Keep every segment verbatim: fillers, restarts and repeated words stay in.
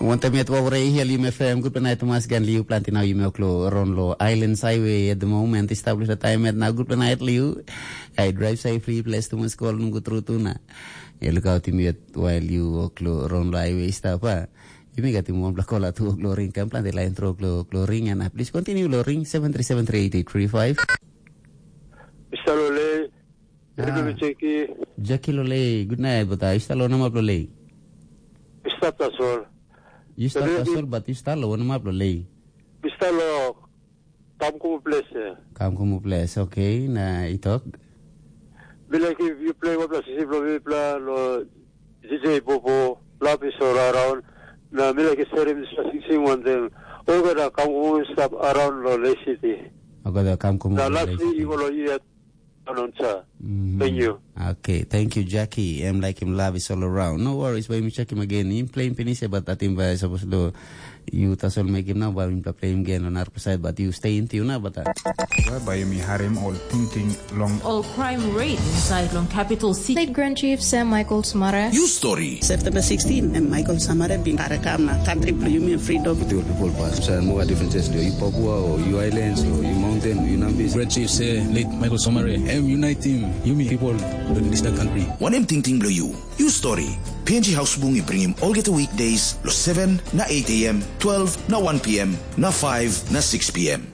Wantem yet wawre i helim F M, gutpela nait tumas gan liu planti nau yumi oklo ron lo Islands Highway at the moment. Establish the time at now, gutpela nait liu. I drive safely, place tumas call num gutru tuna. E look out yumi yet while you oklo ron lo highway stop ha. Yumi gat yumi wanpela call atu oklo ring kam planti line through oklo oklo ring and uh, please continue lo ring seven three seven three eight eight three five. Mister Lole, Ah. Jackie. Jackie Lole, good night, but uh, you still on up Lole. Mister Tasol. You still Tasol, but you still on up Lole. Mister Lo, Kamkumu place. Kamkumu place, okay. Na itok. Bila ki you play what place? Sisi Lo, Bibla, Lo, D J Bobo, Lapis all around. Na bila ki serim this sing one thing. Olga da Kamkumu stop around Lo, Le City. Olga da Kamkumu. Na lastly, you go Lo, yet. Announcer. Mm. Thank you. Okay, thank you, Jackie. Em like him love is all around. No worries, by me check him again. Him playing penis, but I think by supposed to you tasol make him now, by him play him again on our side, but you stay in tune now, but uh, Bai yumi harim ol tingting long. Ol crime rate inside long capital city. State Grand Chief Sam Michael Smara. You story. September sixteen, and Michael Samara bin karakam na country blue human freedom. With your people pass. So more differences do you Papua or you islands or you mountain, you Nambis. Great chief say late Michael Somare. Em unite him, yumi people don't this the country. One em ting ting blow you. You story. P N G House Bung i bring him all get weekdays lo seven na eight a.m., twelve na one p.m., na five na six p.m.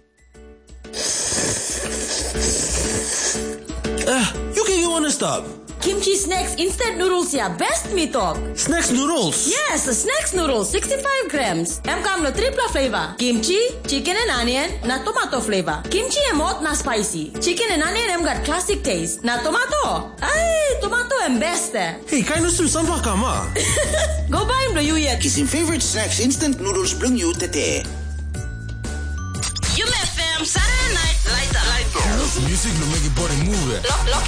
Ah, you can go on a stop. Kimchi snacks instant noodles ya best mi tok. Snacks noodles? Yes, snacks noodles sixty-five grams. Em kam lo tripla flavor. Kimchi, chicken and onion, na tomato flavor. Kimchi em hot na spicy. Chicken and onion em gat classic taste. Na tomato? Ai, tomato em best eh. Hey, kind of soon, some kama. Go buy him lo you yet. Kisim favorite snacks instant noodles bring you tete. You F M Saturday night light up. Music lo make your body move. Lock, lock.